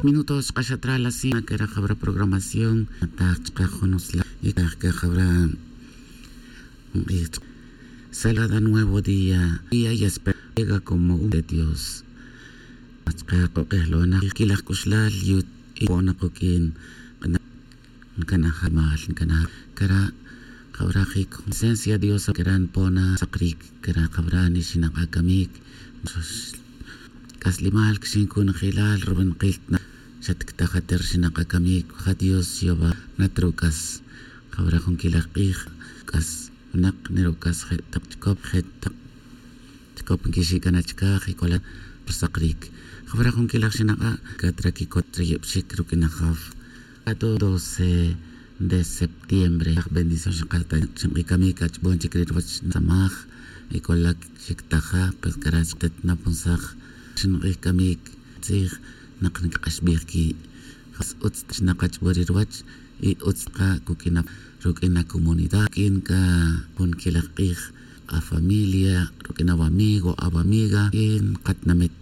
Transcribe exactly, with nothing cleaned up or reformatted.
Minutos xk'axat ra la cien kera jawra programación. Ataj chaka jun utzla y kaj kajawra. Salada nuevo día, día y espera llega como un de Dios. Chaka kok'ejlona kilaj k'uxlal y pona kok'in. Nkanaja mal nkanaja kera. Jawra jik presencia Dios kera npona sakrik kera jawra nixinak'a kamik. K'aslimal kixin kunajilal rubanqil na xatktaja ter xinak'a kamik ja Dios xyova. Natruk'as jawra jun kilaj q'ij k'as winak neruk'as je' taq chikop je' taq chikop nkixik'ana chikaj y k'ola. Rusakrik jawra jun kilaj xinak'a katra kikot riyebxik ruk'in ajaf. Ato doce de septiembre aj bendición xinq'ij kamik ach'bon chik ri ruwach nsamaj. Y k'ola xiktaja pues kara' xqet na punsaj. Xinq'ij kamik tzij nak nkik'axbij ki' jas utz xnaq'ach'bon ri ruwach. Y utz qa kuk'in ruk'in acomunidad k'in k'a jun kilaj q'ij afamilia ruk'in awamigo awamiga y nqatinamit.